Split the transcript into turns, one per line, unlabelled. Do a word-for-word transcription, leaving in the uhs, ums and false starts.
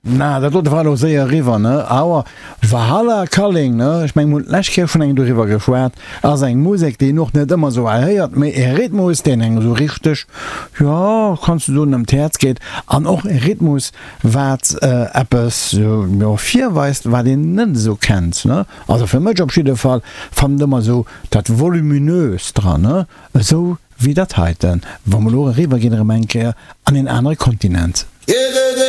Na, dat dote war elo séier eriwwer, ne? Awer Valhalla Calling, ne? Ech mengen, mir hunn d'lescht Kéier schonn eng doriwwer geschwat, ass eng Musek, déi een och net ëmmer esou hei héiert, mee e Rhythmus, deen engem esou richteg, jo, kanns du soen, ëm d'Häerz geet. An och e Rhythmus, wat eppes, jo, virweist, wat een net esou kennt, ne? Also fir mech op jidde Fall, fannen ëmmer esou dat Voluminöst dran, ne? Esou wéi dat heiten, wa mer elo eriwwer ginn erëm eng Kéier an een anere Kontinent.